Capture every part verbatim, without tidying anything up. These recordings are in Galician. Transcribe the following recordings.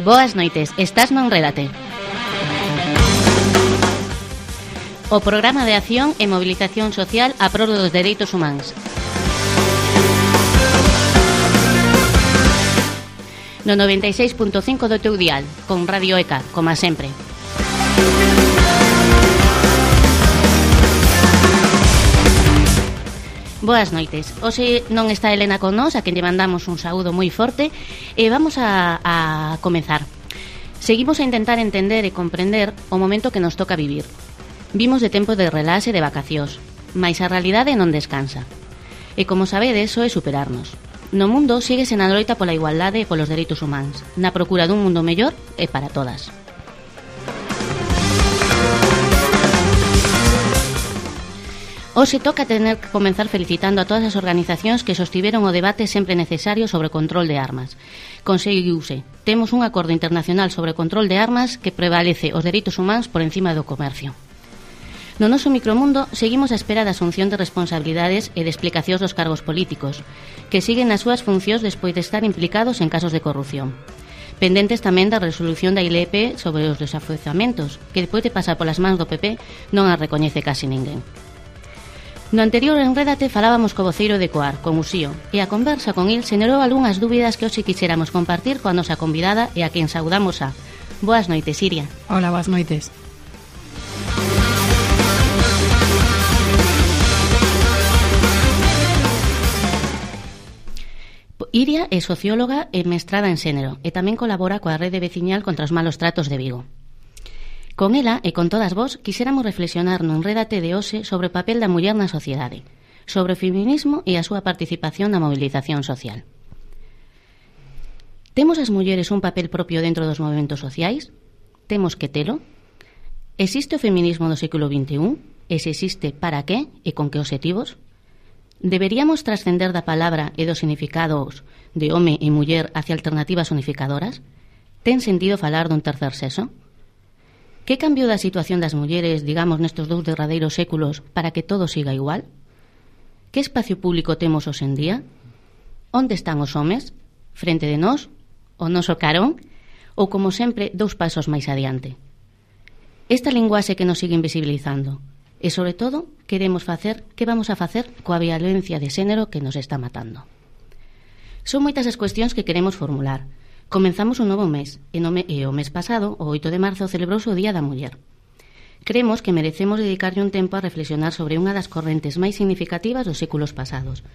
Boas noites, estás no Enrédate. O programa de acción e mobilización social a prol dos dereitos humanos. No noventa e seis punto cinco do teu dial, con Radio E C A, como sempre. Boas noites. Hoxe non está Elena con nós, a quen lle mandamos un saúdo moi forte, e vamos a, a comezar. Seguimos a intentar entender e comprender o momento que nos toca vivir. Vimos de tempo de relaxe e de vacacións, mais a realidade non descansa. E como sabedes, só é superarnos. No mundo síguese na loita pola igualdade e polos dereitos humanos, na procura dun mundo mellor e para todas. Hoxe toca tener que comenzar felicitando a todas as organizacións que sostiveron o debate sempre necesario sobre o control de armas. Conseguiuse. Temos un acordo internacional sobre o control de armas que prevalece os dereitos humanos por encima do comercio. No noso micromundo seguimos a espera da asunción de responsabilidades e de explicacións dos cargos políticos, que siguen nas súas funcións despois de estar implicados en casos de corrupción. Pendentes tamén da resolución da I L E P sobre os desafouzamentos, que despois de pasar polas mans do P P non a recoñece casi ninguén. No anterior Enrédate falábamos co voceiro de Coar, con Uxío, e a conversa con il xenerou algunhas dúbidas que hoxe quixéramos compartir coa nosa convidada e a quen saudamos a. Boas noites, Iria. Hola, boas noites. Iria é socióloga e mestrada en xénero e tamén colabora coa Rede Veciñal contra os malos tratos de Vigo. Con ela e con todas vós quixéramos reflexionar no Enrédate de hoxe sobre o papel da muller na sociedade, sobre o feminismo e a súa participación na mobilización social. Temos as mulleres un papel propio dentro dos movementos sociais? Temos que telo? Existe o feminismo do século vinte e un? E se existe, para que e con que obxectivos? Deberíamos trascender da palabra e dos significados de home e muller hacia alternativas unificadoras? Ten sentido falar dun tercer sexo? Que cambiou da situación das mulleres, digamos, nestes dous derradeiros séculos para que todo siga igual? Que espacio público temos hoxe en día? Onde están os homes? Frente de nós? O noso carón? Ou, como sempre, dous pasos máis adiante? Esta linguaxe que nos sigue invisibilizando. E, sobre todo, queremos facer, que vamos a facer coa violencia de xénero que nos está matando? Son moitas as cuestións que queremos formular. Comenzamos un novo mes, e, no me, e o mes pasado, o oito de marzo, celebrouse o Día da Muller. Creemos que merecemos dedicarlle un tempo a reflexionar sobre unha das correntes máis significativas dos séculos pasados.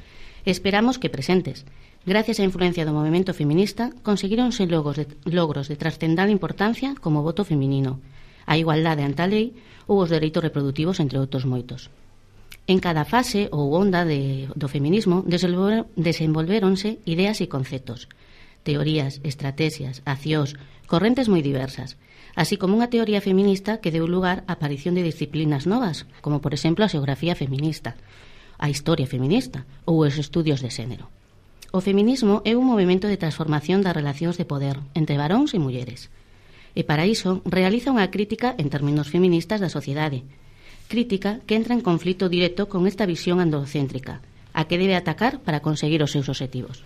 Esperamos que presentes. Gracias á influencia do movemento feminista, conseguironse logros de, logros de trascendal importancia como o voto feminino, a igualdade ante a lei ou os dereitos reproductivos, entre outros moitos. En cada fase ou onda de, do feminismo desenvolveronse ideas e conceptos, teorías, estrategias, accións, correntes moi diversas, así como unha teoría feminista que deu lugar á aparición de disciplinas novas, como por exemplo a xeografía feminista, a historia feminista ou os estudios de xénero. O feminismo é un movimento de transformación das relacións de poder entre varóns e mulleres, e para iso realiza unha crítica en términos feministas da sociedade, crítica que entra en conflito directo con esta visión androcéntrica, a que debe atacar para conseguir os seus obxectivos.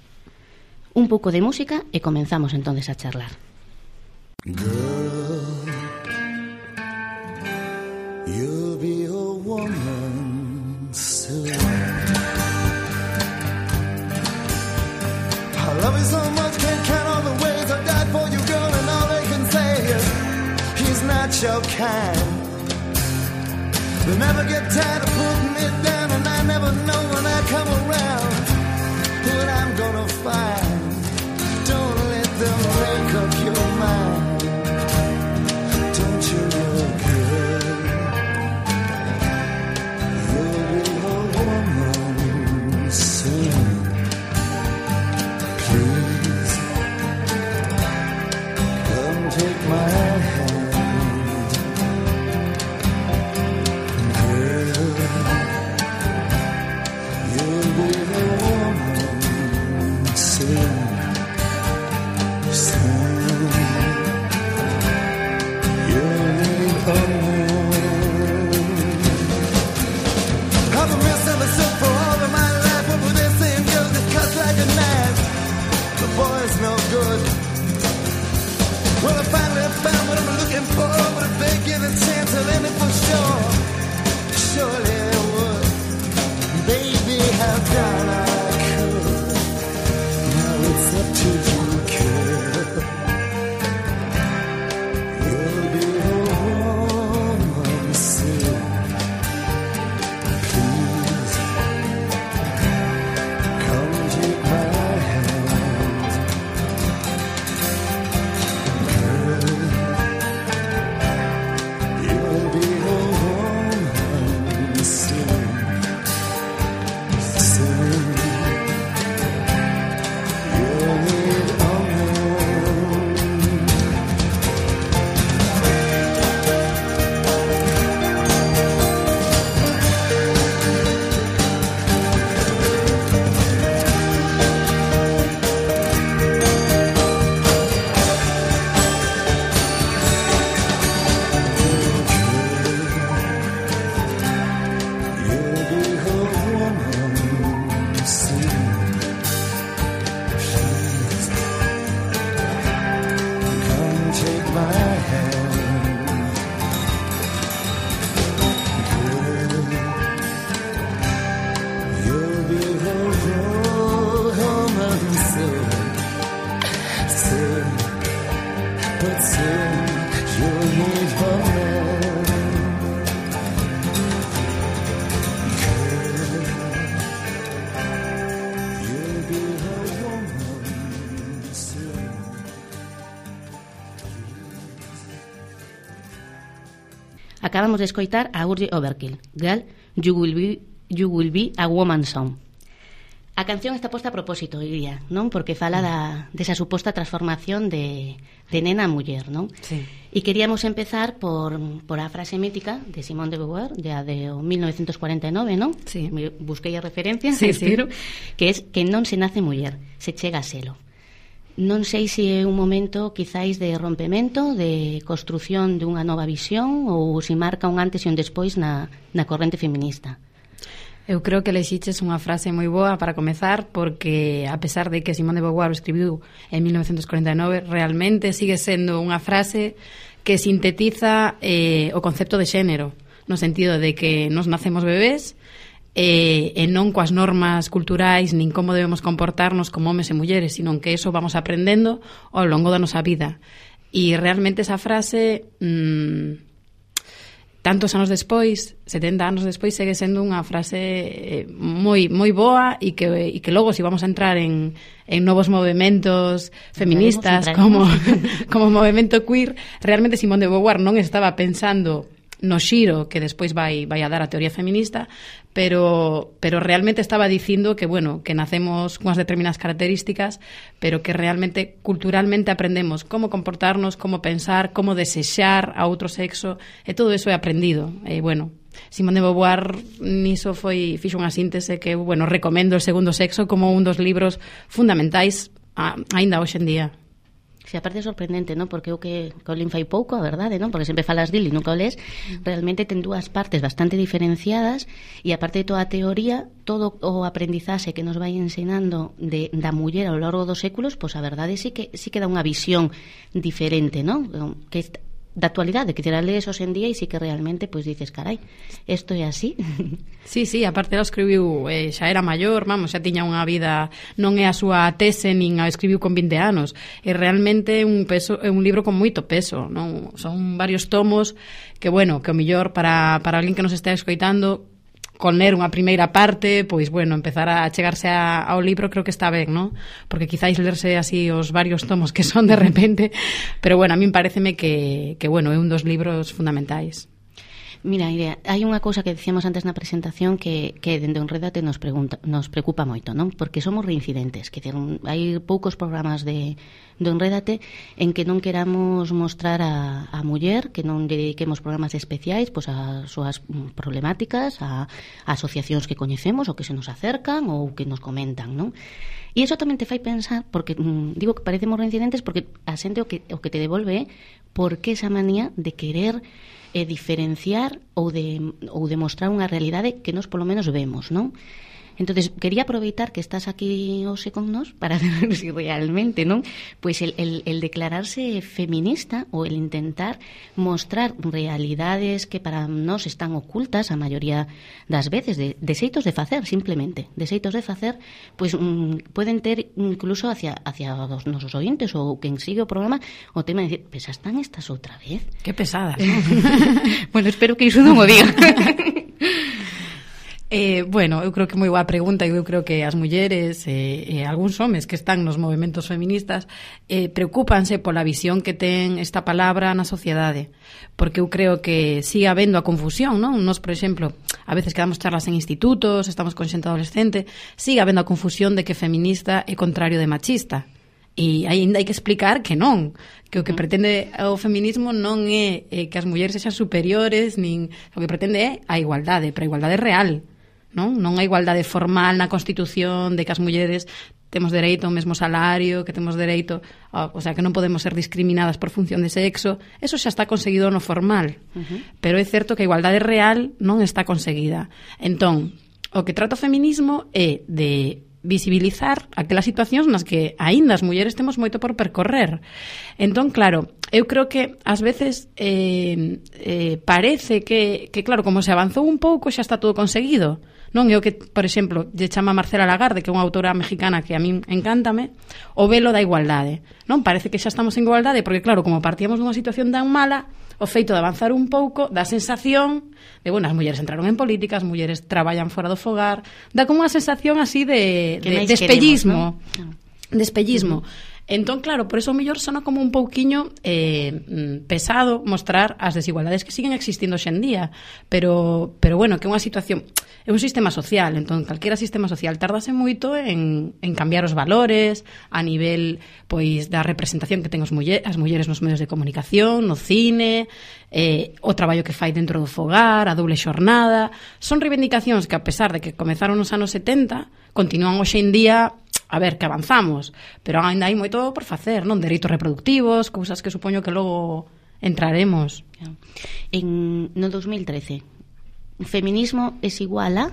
Un pouco de música e comenzamos entonces a charlar. Girl, you'll be a woman soon. I love you so much, can't count all the ways I died for you, girl, and all they can say is he's not your kind. They never get tired of putting me down, and I never know when I come around what I'm gonna find. Don't let them make up your mind. Don't you know, girl, you'll be a woman soon. Please, come take my hand, girl. acabamos de escoitar a Urge Overkill, Girl, You Will Be, you will be a Woman Song. A canción está posta a propósito, diría, non? Porque fala da, desa suposta transformación de, de nena a muller, non? Sí. E queríamos empezar por, por a frase mítica de Simone de Beauvoir, de a de mil novecientos cuarenta e nove, non? Sí. Busquei a referencia, sí, espero, sí. que es que non se nace muller, se chega a selo. Non sei se é un momento quizáis de rompemento, de construción de unha nova visión ou se marca un antes e un despois na, na corrente feminista. Eu creo que lexiches unha frase moi boa para comezar, porque a pesar de que Simone de Beauvoir o escribiu en mil novecientos cuarenta e nove, realmente sigue sendo unha frase que sintetiza eh, o concepto de xénero, no sentido de que nos nacemos bebés e, e non coas normas culturais nin como debemos comportarnos como homes e mulleres, sino que eso vamos aprendendo ao longo da nosa vida. E realmente esa frase... Mmm, tantos anos despois, setenta anos despois, segue sendo unha frase moi moi boa e que, e que logo, se si vamos a entrar en, en novos movementos feministas como, como movemento queer, realmente Simone de Beauvoir non estaba pensando no xiro que despois vai, vai a dar a teoría feminista, pero, pero realmente estaba dicindo que, bueno, que nacemos cunhas determinadas características, pero que realmente culturalmente aprendemos como comportarnos, como pensar, como desexar a outro sexo, e todo eso é aprendido. E, bueno, Simone de Beauvoir niso foi, fixo unha síntese que, bueno, recomendo El segundo sexo como un dos libros fundamentais a, aínda hoxe en día. Si, aparte é sorprendente, non? Porque o que Colin fai pouco, a verdade, non? Porque sempre falas dil e nunca o lees, realmente ten dúas partes bastante diferenciadas e aparte de toda a teoría, todo o aprendizaxe que nos vai ensinando de, da muller ao longo dos séculos, pois a verdade sí que sí que dá unha visión diferente, non? Que da actualidade, que te la lees hoxe en día e sí que realmente pois dices, carai, isto é así. Sí, sí, aparte ela escribiu, eh, xa era maior, vamos, xa tiña unha vida, non é a súa tese nin a escribiu con vinte anos, e realmente un peso, é un libro con moito peso, non? Son varios tomos que, bueno, que o mellor para, para alguén que nos está escoitando, con ler unha primeira parte, pois, bueno, empezar a chegarse a, ao libro creo que está ben, non? Porque quizáis lerse así os varios tomos que son de repente, pero, bueno, a min pareceme que, que bueno, é un dos libros fundamentais. Mira, Iria, hai unha cousa que dicíamos antes na presentación que, que dende Enrédate nos, pregunta, nos preocupa moito, non? Porque somos reincidentes, que hai poucos programas de, de Enrédate en que non queramos mostrar a, a muller, que non dediquemos programas especiais pois a súas problemáticas, a, a asociacións que coñecemos ou que se nos acercan ou que nos comentan, non? E iso tamén te fai pensar, porque mm, digo que parecemos reincidentes porque a xente o que, o que te devolve é por que esa manía de querer e diferenciar ou de ou demostrar unha realidade que nós polo menos vemos, non? Entonces, quería aproveitar que estás aquí hoxe con nós para ver si realmente, non? Pois el, el, el declararse feminista ou el intentar mostrar realidades que para nós están ocultas a maioría das veces, de, de xeitos de facer, simplemente, de xeitos de facer, pois mm, poden ter incluso hacia, hacia os nosos ointes ou quen sigue o programa o tema de decir, pues están estas outra vez. Que pesadas, ¿no? Bueno, espero que iso non o diga. Eh, bueno, eu creo que moi boa pregunta e eu creo que as mulleres e eh, eh, algúns homes que están nos movementos feministas eh, preocúpanse pola visión que ten esta palabra na sociedade, porque eu creo que sigue habendo a confusión, non? Nos, por exemplo, a veces que damos charlas en institutos, estamos con xente adolescente, sigue habendo a confusión de que feminista é contrario de machista. E ainda hai que explicar que non, que o que pretende o feminismo non é eh, que as mulleres sexan superiores, nin o que pretende é a igualdade, pero a igualdade real, non? Non a igualdade formal na Constitución de que as mulleres temos dereito ao mesmo salario, que temos dereito, a, o sea, que non podemos ser discriminadas por función de sexo. Eso xa está conseguido no formal. Uh-huh. Pero é certo que a igualdade real non está conseguida. Entón, o que trata o feminismo é de visibilizar aquelas situacións nas que aínda as mulleres temos moito por percorrer. Entón, claro, eu creo que ás veces eh, eh, parece que, que, claro, como se avanzou un pouco xa está todo conseguido. Non é o que, por exemplo, lle chama Marcela Lagarde, que é unha autora mexicana que a min encántame, o velo da igualdade. Non parece que xa estamos en igualdade, porque claro, como partíamos dunha situación tan mala, o feito de avanzar un pouco dá sensación de, bueno, as mulleres entraron en política, as mulleres traballan fora do fogar, dá como unha sensación así de, de, de espellismo, ¿no? De espellismo. Uh-huh. Entón, claro, por eso o mellor sona como un pouquiño eh, pesado mostrar as desigualdades que siguen existindo hoxe en día, pero, pero bueno, que é unha situación, é un sistema social, entón calquera sistema social tardase moito en, en cambiar os valores a nivel, pois, da representación que ten os muller, as mulleres nos medios de comunicación, no cine, eh, o traballo que fai dentro do fogar, a doble xornada. Son reivindicacións que, a pesar de que comezaron nos anos setenta, continúan hoxe en día. A ver, que avanzamos, pero ainda hai moito por facer, non? Dereitos reproductivos, cousas que supoño que logo entraremos. En, no dos mil trece, feminismo es igual a?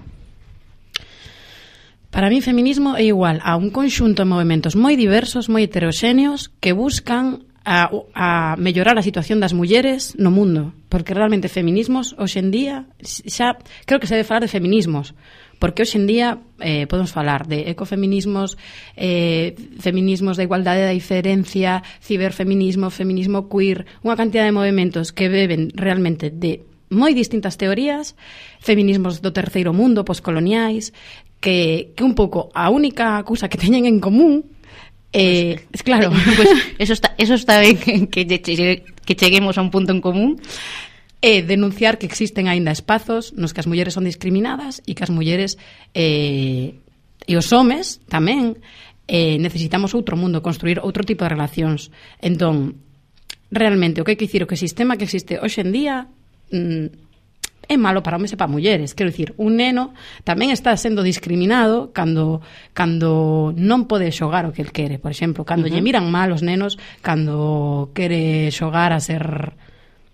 Para mí, feminismo é igual a un conxunto de movementos moi diversos, moi heteroxéneos, que buscan a, a mellorar a situación das mulleres no mundo, porque realmente feminismos hoxe en día, xa creo que se debe falar de feminismos, porque hoxe en día eh, podemos falar de ecofeminismos, eh, feminismos da igualdade, da diferencia, ciberfeminismo, feminismo queer, unha cantidad de movementos que beben realmente de moi distintas teorías, feminismos do terceiro mundo, poscoloniais, que, que un pouco a única cousa que teñen en común eh, pues, claro, pues eso está, eso está ben que, que cheguemos a un punto en común. É denunciar que existen aínda espazos nos que as mulleres son discriminadas e que as mulleres eh, e os homes tamén eh, necesitamos outro mundo, construir outro tipo de relacións. Entón, realmente, o que hai que dicir, o que o sistema que existe hoxe en día mm, é malo para homes e para mulleres. Quero dicir, un neno tamén está sendo discriminado cando, cando non pode xogar o que el quere. Por exemplo, cando uh-huh. lle miran mal os nenos cando quere xogar a ser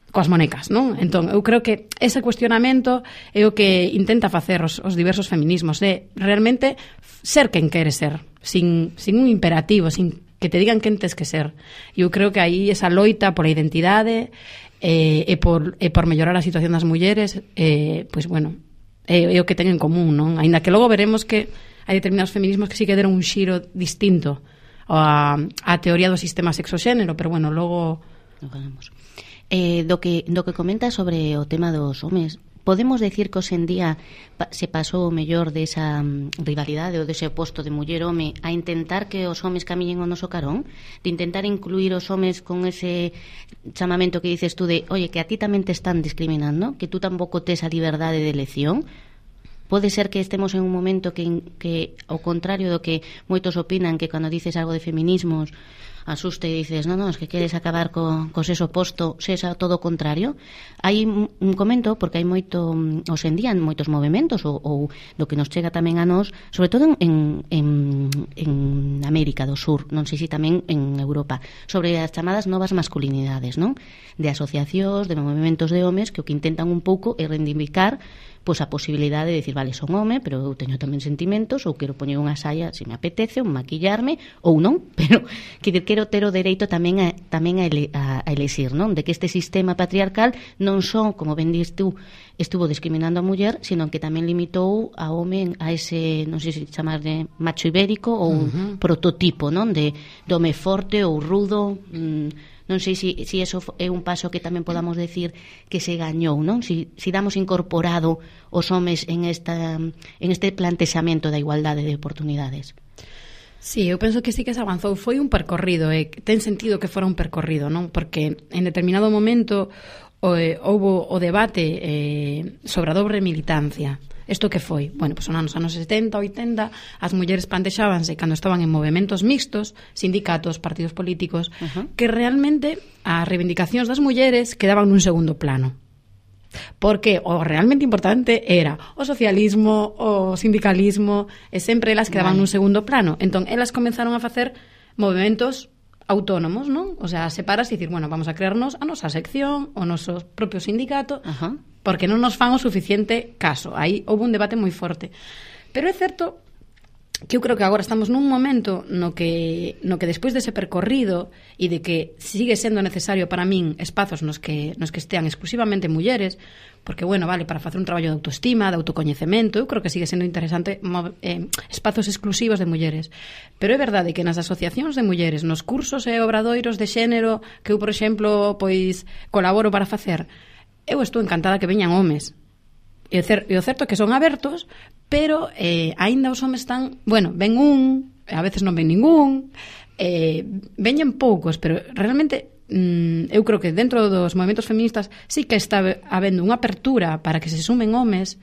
coas monecas, non? Entón, eu creo que ese cuestionamento é o que intenta facer os, os diversos feminismos, é realmente ser quen quere ser, sin, sin un imperativo, sin que te digan quen tes que ser. E eu creo que aí esa loita pola identidade eh, e, por, e por mellorar a situación das mulleres, eh, pois, bueno, é, é o que ten en común, non? Ainda que logo veremos que hai determinados feminismos que sí que deron un xiro distinto á, á teoría do sistema sexoxénero, pero, bueno, logo... Lo ganamos. Eh, do que do que comenta sobre o tema dos homes, podemos decir que hoxe en día pa, se pasou o mellor desa um, rivalidade ou dese oposto de muller-home a intentar que os homes camiñen o noso carón, de intentar incluir os homes con ese chamamento que dices tú de, oye, que a ti tamén te están discriminando, que tú tampouco tes a liberdade de elección. Pode ser que estemos en un momento que, que ao contrario do que moitos opinan, que cando dices algo de feminismos asuste e dices, non, non, es que queres acabar co, co sexo oposto, sexa todo o contrario. Hai un comento, porque hai moito, hoxe en día, moitos movimentos, ou, ou do que nos chega tamén a nós, sobre todo en, en, en América do Sur, non sei se tamén en Europa, sobre as chamadas novas masculinidades, non? De asociacións, de movimentos de homes, que o que intentan un pouco é reivindicar pois a posibilidade de decir, vale, son home, pero eu teño tamén sentimentos, ou quero poñer unha saia se me apetece, ou maquillarme, ou non, pero que quero ter o dereito tamén a, tamén a, ele, a, a elexir, non? De que este sistema patriarcal non só, como ben dis tú, estuvo discriminando a muller, sino que tamén limitou a home a ese, non sei se chamar de macho ibérico, ou uh-huh. prototipo, non? De, de home forte ou rudo, mmm, non sei se si, si eso é un paso que tamén podamos decir que se gañou, non? Si, si damos incorporado os homes en, esta, en este plantexamento da igualdade de oportunidades. Sí, eu penso que sí que se avanzou. Foi un percorrido, e ten sentido que fora un percorrido, non? Porque en determinado momento o, eh, houbo o debate eh, sobre a dobre militancia. Isto que foi? Bueno, pois son anos anos setenta, oitenta, as mulleres plantexábanse cando estaban en movementos mixtos, sindicatos, partidos políticos, uh-huh. que realmente as reivindicacións das mulleres quedaban nun segundo plano. Porque o realmente importante era o socialismo, o sindicalismo, e sempre elas quedaban vale. nun segundo plano. Entón, elas comenzaron a facer movementos autónomos, non? O sea, separas e dicir, bueno, vamos a crearnos a nosa sección, o noso propio sindicato, uh-huh. porque non nos fan o suficiente caso. Aí houve un debate moi forte. Pero é certo que eu creo que agora estamos nun momento no que no que despois dese percorrido e de que sigue sendo necesario para min espazos nos que nos que estean exclusivamente mulleres, porque, bueno, vale, para facer un traballo de autoestima, de autocoñecemento, eu creo que sigue sendo interesante eh, espazos exclusivos de mulleres. Pero é verdade que nas asociacións de mulleres, nos cursos e obradoiros de xénero que eu, por exemplo, pois colaboro para facer, eu estou encantada que veñan homes. E o certo é que son abertos, pero eh, aínda os homes están, bueno, ven un, a veces non ven ningún, eh, veñen poucos, pero realmente mm, eu creo que dentro dos movimentos feministas sí que está habendo unha apertura para que se sumen homes,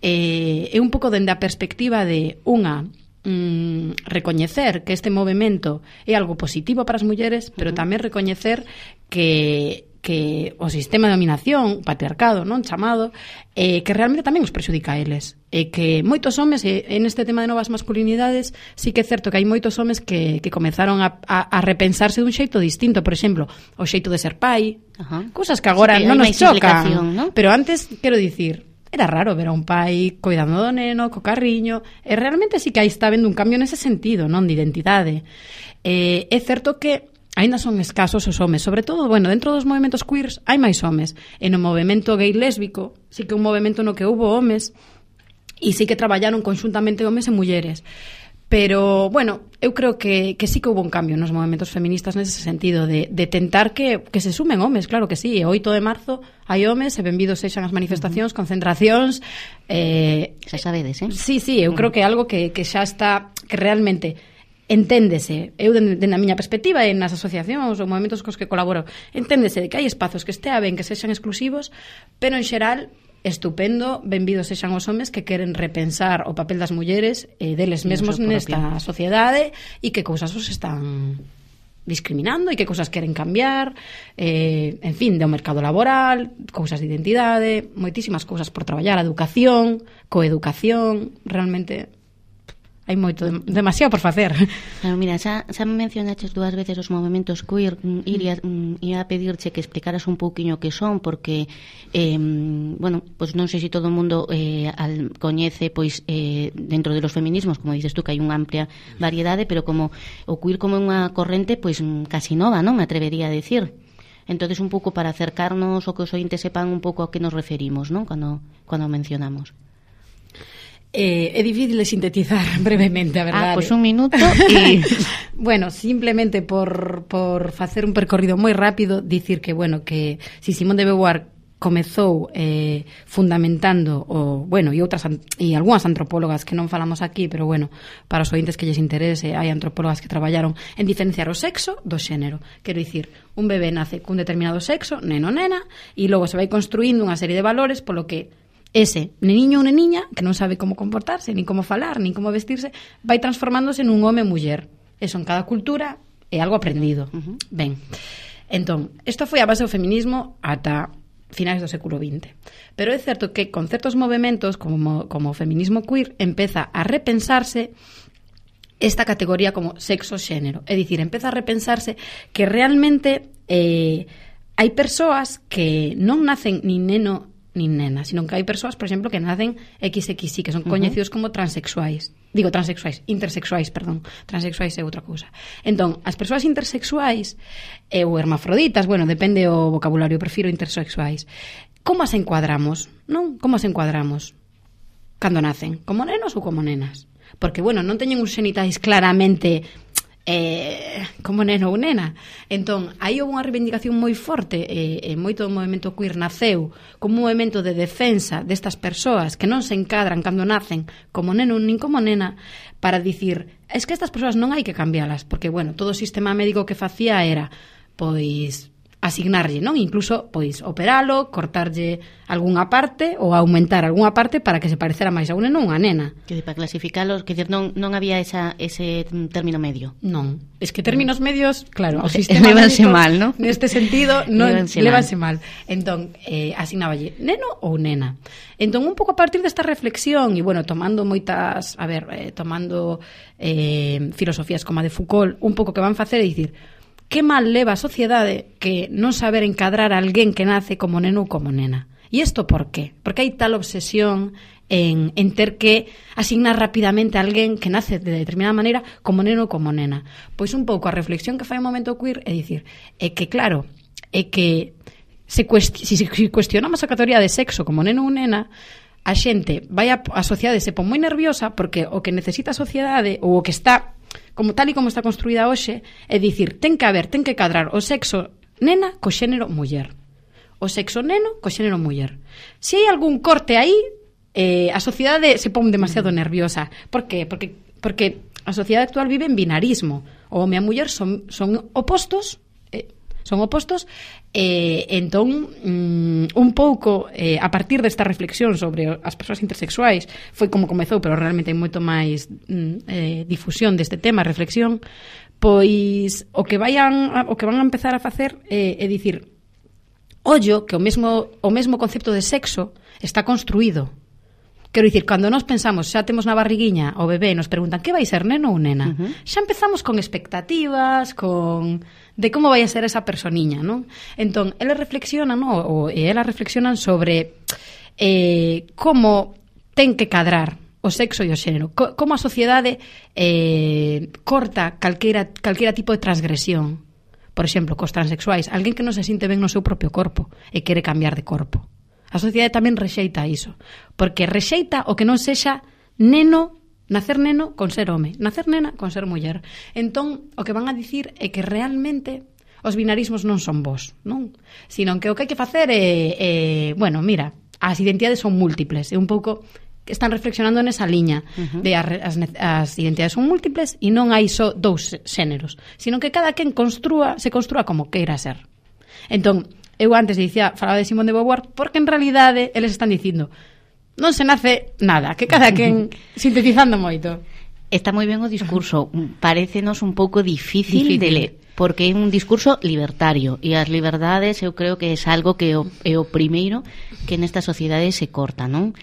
eh, é un pouco dende a perspectiva de unha Mm, recoñecer que este movimento é algo positivo para as mulleres, pero uh-huh. tamén recoñecer que que o sistema de dominación, o patriarcado, non chamado, eh, que realmente tamén os prexudica a eles. E que moitos homes, eh, en este tema de novas masculinidades, sí que é certo que hai moitos homes que, que comenzaron a, a, a repensarse dun xeito distinto, por exemplo, o xeito de ser pai, uh-huh. cousas que agora sí, que non nos chocan, ¿no? Pero antes, quero dicir, era raro ver a un pai coidando do neno, co carriño, e realmente sí que aí está vendo un cambio nese sentido, non, de identidade. Eh, é certo que aínda son escasos os homes, sobre todo, bueno, dentro dos movimentos queers hai máis homes, e no movimento gay lésbico sí que un movimento no que houbo homes, e sí que traballaron conxuntamente homes e mulleres. Pero, bueno, eu creo que, que sí que houve un cambio nos movimentos feministas nese sentido de, de tentar que, que se sumen homes, claro que sí. E oito de marzo hai homes e benvidos sexan as manifestacións, uh-huh. concentracións. Eh, xa sabedes, eh? Sí, sí, eu uh-huh. creo que é algo que, que xa está, que realmente enténdese, eu dende a miña perspectiva e nas asociacións ou movimentos cos que colaboro, enténdese de que hai espazos que estea ben, que sexan exclusivos, pero en xeral estupendo, benvidos sexan os homes que queren repensar o papel das mulleres e eh, deles mesmos nesta sociedade e que cousas os están discriminando e que cousas queren cambiar, eh, en fin, do mercado laboral, cousas de identidade, moitísimas cousas por traballar, a educación, coeducación, realmente hai moito, demasiado por facer. Claro, mira, xa, xa mencionaches dúas veces os movimentos queer, iría, ia a pedirche que explicaras un pouquiño que son, porque eh, bueno, pues non sei se todo o mundo eh, al, coñece, pois eh, dentro de los feminismos, como dices tú, que hai unha amplia variedade, pero como o queer como unha corrente, pois casi nova, non? Me atrevería a decir. Entonces, un pouco para acercarnos o que os ointes sepan un pouco a que nos referimos, non? Cando, cando mencionamos. Eh, é difícil de sintetizar brevemente, a verdade. Ah, pois pues un minuto e... bueno, simplemente por, por facer un percorrido moi rápido, dicir que, bueno, que si Simone de Beauvoir comezou eh, fundamentando o, bueno, e outras e algunhas antropólogas que non falamos aquí, pero bueno, para os ointes que lles interese, hai antropólogas que traballaron en diferenciar o sexo do xénero. Quero dicir, un bebé nace cun determinado sexo, neno, nena, e logo se vai construindo unha serie de valores polo que ese neniño ou neniña que non sabe como comportarse, nin como falar, nin como vestirse, vai transformándose nun home muller. Eso en cada cultura é algo aprendido. Uh-huh. Ben, entón, isto foi a base do feminismo ata finais do século vinte. Pero é certo que con certos movimentos como, como o feminismo queer empeza a repensarse esta categoría como sexo-xénero. É dicir, empeza a repensarse que realmente eh, hai persoas que non nacen nin neno nin nena, sino que hai persoas, por exemplo, que nacen equis equis i, que son coñecidos uh-huh. como transexuais. Digo transexuais, intersexuais, perdón. Transexuais é outra cousa. Entón, as persoas intersexuais eh, ou hermafroditas, bueno, depende o vocabulario, prefiro intersexuais. Como as encuadramos? Non? Como as encuadramos? Cando nacen? Como nenos ou como nenas? Porque, bueno, non teñen uns xenitais claramente eh, como neno ou nena. Entón, aí houve unha reivindicación moi forte e, e moito do movimento queer naceu como un movimento de defensa destas persoas que non se encadran cando nacen como neno nin como nena, para dicir, es que estas persoas non hai que cambialas, porque, bueno, todo o sistema médico que facía era, pois, asignarlle, non? Incluso, pois, operalo, cortarlle algunha parte ou aumentar algunha parte para que se parecera máis a un neno ou unha nena. Que para clasificalos, que non, non había esa, ese término medio. Non, es que términos no. medios, claro, o sistema lévanse mal, ¿no? Neste sentido, non lévanse mal. Entón, eh, asignáballe neno ou nena. Entón, un pouco a partir desta reflexión e, bueno, tomando moitas, a ver, eh, tomando eh, filosofías como a de Foucault, un pouco que van facer é dicir, que mal leva a sociedade que non saber encadrar a alguén que nace como neno ou como nena. E isto por qué? Porque hai tal obsesión en, en ter que asignar rapidamente a alguén que nace de determinada maneira como neno ou como nena. Pois un pouco a reflexión que fai o momento queer é dicir, é que claro, é que se cuesti- si, si cuestionamos a categoría de sexo como neno ou nena, a xente vai a, a sociedade se pon moi nerviosa porque o que necesita a sociedade ou o que está como tal e como está construída hoxe, é dicir, ten que haber, ten que cadrar o sexo nena co xénero muller. O sexo neno co xénero muller. Se hai algún corte aí, eh, a sociedade se pon demasiado nerviosa. Por qué? Porque, porque a sociedade actual vive en binarismo. O home e a muller son, son opostos, eh, son opostos, e eh, entón mm, un pouco eh, a partir desta reflexión sobre as persoas intersexuais foi como comezou, pero realmente hai moito máis mm, eh, difusión deste tema, reflexión, pois o que vayan o que van a empezar a facer é, é dicir, ollo que o mesmo o mesmo concepto de sexo está construído. Quero dicir, cando nós pensamos, xa temos na barriguiña o bebé e nos preguntan que vai ser, neno ou nena, uh-huh. xa empezamos con expectativas, con de como vai a ser esa personiña, non? Entón, eles reflexionan, non? O, e elas reflexionan sobre eh, como ten que cadrar o sexo e o xénero, co, como a sociedade eh, corta calquera, calquera tipo de transgresión. Por exemplo, cos transexuais, alguén que non se sinte ben no seu propio corpo e quere cambiar de corpo. A sociedade tamén rexeita iso, porque rexeita o que non sexa neno, nacer neno con ser home, nacer nena con ser muller. Entón, o que van a dicir é que realmente os binarismos non son vos, non? Sino que o que hai que facer é, é bueno, mira, as identidades son múltiples, é un pouco están reflexionando nesa liña uh-huh. de as, as identidades son múltiples e non hai só dous xéneros, sino que cada quen construa, se construa como queira ser. Entón, eu antes dicía, falaba de Simone de Beauvoir, porque en realidade eles están dicindo non se nace nada, que cada quen sintetizando moito. Está moi ben o discurso, parécenos un pouco difícil, difícil. de ler, porque é un discurso libertario e as liberdades eu creo que é algo que é o, é o primeiro que nesta sociedade se corta, non?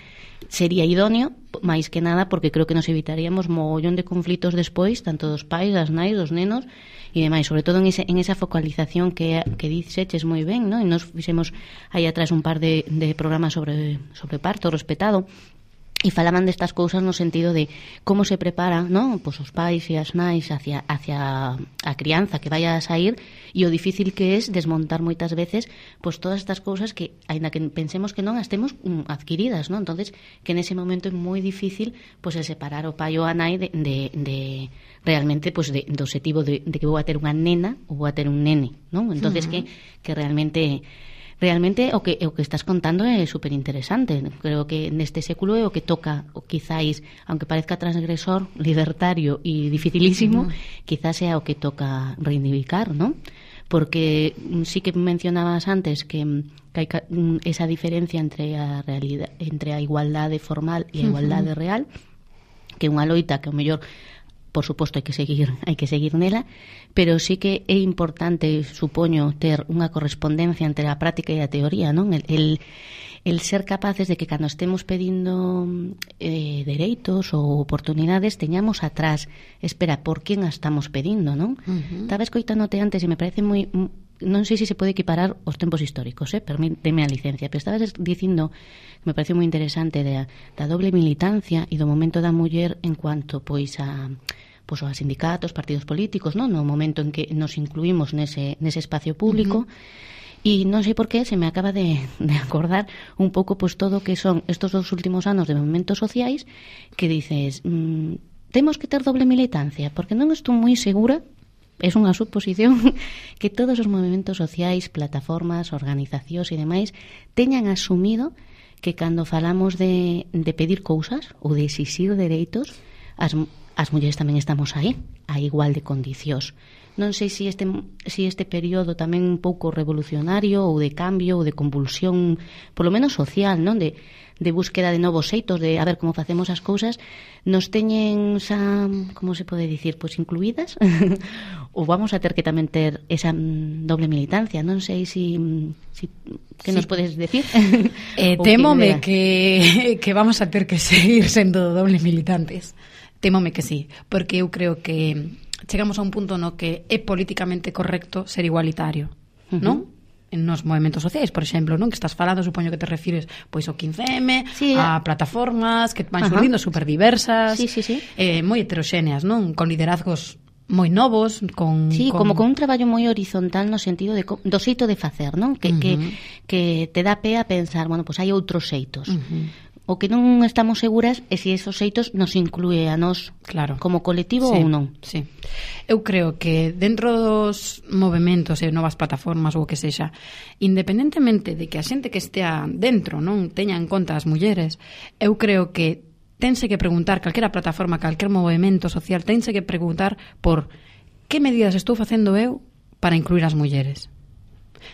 Sería idóneo, máis que nada, porque creo que nos evitaríamos mogollón de conflitos despois, tanto dos pais, das nais, dos nenos e demais, sobre todo en, ese, en esa focalización que, que diceches moi ben, ¿no? E nos fixemos aí atrás un par de, de programas sobre, sobre parto respetado e falaban destas cousas no sentido de como se prepara, ¿no? Pues os pais e as nais hacia, hacia a crianza que vaya a sair e o difícil que es desmontar moitas veces pues todas estas cousas que, aínda que pensemos que non as temos um, adquiridas, ¿no? Entonces, que nese momento é moi difícil pues el separar o pai ou a nai de, de, de realmente pues de, do objetivo de, de que vou a ter unha nena ou vou a ter un nene, ¿no? Entonces, uh-huh. que, que realmente... Realmente o que o que estás contando é super interesante. Creo que neste século é o que toca, o quizáis, aunque parezca transgresor, libertario e dificilísimo, uh-huh. quizás sea o que toca reivindicar, ¿no? Porque sí que mencionabas antes que, que hai esa diferencia entre a realidade, entre a igualdade formal e a igualdade uh-huh. real, que é unha loita que o mellor por suposto hai que seguir, hai que seguir nela, pero sí que é importante, supoño, ter unha correspondencia entre a práctica e a teoría, non? El, el, el ser capaces de que cando estemos pedindo eh, dereitos ou oportunidades teñamos atrás, espera, por quen a estamos pedindo, non? Uh-huh. Estaba escoitándote antes e me parece moi... non sei se se pode equiparar os tempos históricos, eh? Permíteme a licencia, pero estabas dicindo, me parece moi interesante, da, da doble militancia e do momento da muller en cuanto pois a pois a sindicatos, partidos políticos, non? No momento en que nos incluímos nese, nese espacio público. Uh-huh. E non sei por qué se me acaba de, de acordar un pouco pois todo que son estos dos últimos anos de movimentos sociais que dices, mmm, temos que ter doble militancia, porque non estou moi segura, é unha suposición, que todos os movimentos sociais, plataformas, organizacións e demais teñan asumido que cando falamos de, de pedir cousas ou de exixir dereitos, as as mulleres tamén estamos aí, a igual de condicións. Non sei se este, se este período tamén un pouco revolucionario ou de cambio ou de convulsión, polo menos social, non? De, de búsqueda de novos xeitos, de a ver como facemos as cousas, nos teñen xa, como se pode dicir, pois incluídas? Ou vamos a ter que tamén ter esa doble militancia? Non sei se... si, que sí. Nos podes decir? Eh, temome que, que vamos a ter que seguir sendo doble militantes. Temome que sí, porque eu creo que chegamos a un punto no que é políticamente correcto ser igualitario, uh-huh. non? En nos movimentos sociais, por exemplo, non? Que estás falando, supoño que te refires pois ao quince eme, sí, a plataformas que van surdindo super diversas, sí, sí, sí. Eh, moi heteroxéneas, non? Con liderazgos moi novos, con... Sí, con... como con un traballo moi horizontal no sentido de do xeito de facer, non? Que, uh-huh. que, que te dá pé a pensar, bueno, pois hai outros xeitos. Uh-huh. O que non estamos seguras é se esos xeitos nos inclúe a nós, claro, como colectivo sí, ou non. Sí. Eu creo que dentro dos movementos e novas plataformas ou o que sexa, independentemente de que a xente que estea dentro non teña en conta as mulleres, eu creo que tense que preguntar, calquera plataforma, calquer movimento social, tense que preguntar por que medidas estou facendo eu para incluir as mulleres.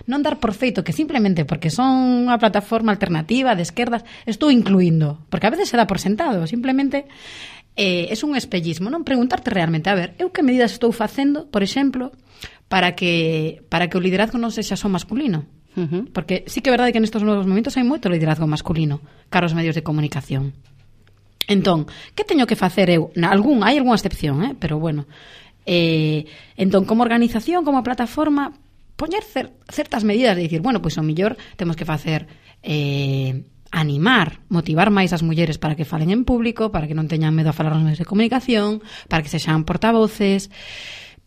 Non dar por feito que simplemente porque son unha plataforma alternativa de esquerdas estou incluindo, porque a veces se dá por sentado, simplemente eh, é un espellismo, non preguntarte realmente, a ver, eu que medidas estou facendo, por exemplo, para que para que o liderazgo non sexa só masculino. Uh-huh. Porque sí que é verdade que nestes novos momentos hai moito liderazgo masculino cara aos medios de comunicación. Entón, que teño que facer eu? Na, algún, hai algunha excepción, eh? Pero bueno, eh, entón, como organización, como plataforma, poñer cer, certas medidas de dicir, bueno, pois o mellor temos que facer eh, animar, motivar máis as mulleres para que falen en público, para que non teñan medo a falar nos medios de comunicación, para que sexan portavoces,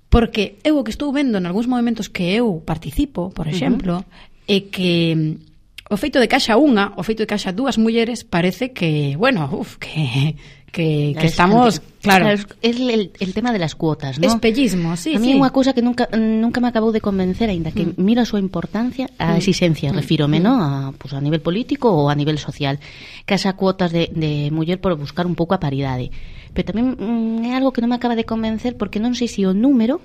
porque eu o que estou vendo en algúns movimentos que eu participo, por exemplo, uh-huh. é que o feito de que haxa unha, o feito de que haxa dúas mulleres parece que, bueno, uf, que que, que estamos, claro, claro, es el, el tema de las cuotas, ¿no? Espellismo, sí, a mí sí. unha cousa que nunca nunca me acabou de convencer, aínda que mm. miro a súa importancia, a exigencia, mm. refírome, mm. ¿no? A, pues, a nivel político ou a nivel social, que haxa cuotas de, de muller por buscar un pouco a paridade. Pero tamén mm, é algo que non me acaba de convencer porque non sei se o número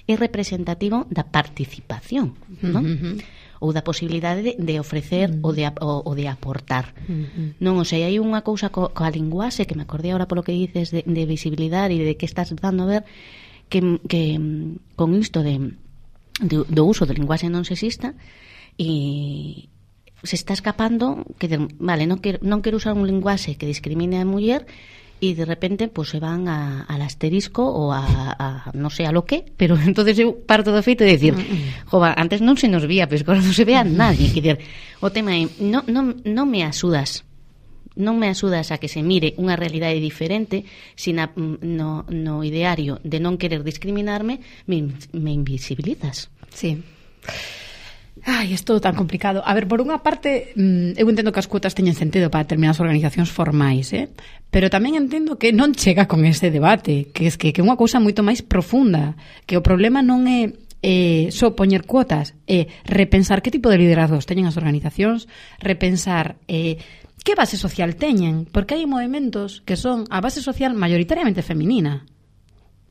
é representativo da participación, ¿no? Mm-hmm. Ou da posibilidade de, de ofrecer mm. ou, de, ou, ou de aportar. Mm-hmm. Non, o sea, hai unha cousa co, coa linguaxe que me acordei agora polo que dices de, de visibilidade e de que estás dando a ver que, que con isto de, de, do uso do linguaxe non sexista e se está escapando que, vale, non quero, non quero usar un linguaxe que discrimine a muller y de repente pues se van a, al asterisco o a, a no sé a lo que, pero entonces eu parto do feito de decir, jova, antes non se nos vía, pero agora non se ve a nadie, que decir, o tema é, non, non, non me axudas, non me axudas a que se mire unha realidade diferente, sino no, no ideario de non querer discriminarme, me, me invisibilizas. Sí. Ai, é todo tan complicado. A ver, por unha parte, eu entendo que as cuotas teñen sentido para determinadas organizacións formais, eh? Pero tamén entendo que non chega con ese debate, que é que, que é unha cousa moito máis profunda, que o problema non é eh, só poñer cuotas, é repensar que tipo de liderazgos teñen as organizacións, repensar eh, que base social teñen, porque hai movimentos que son a base social maioritariamente feminina,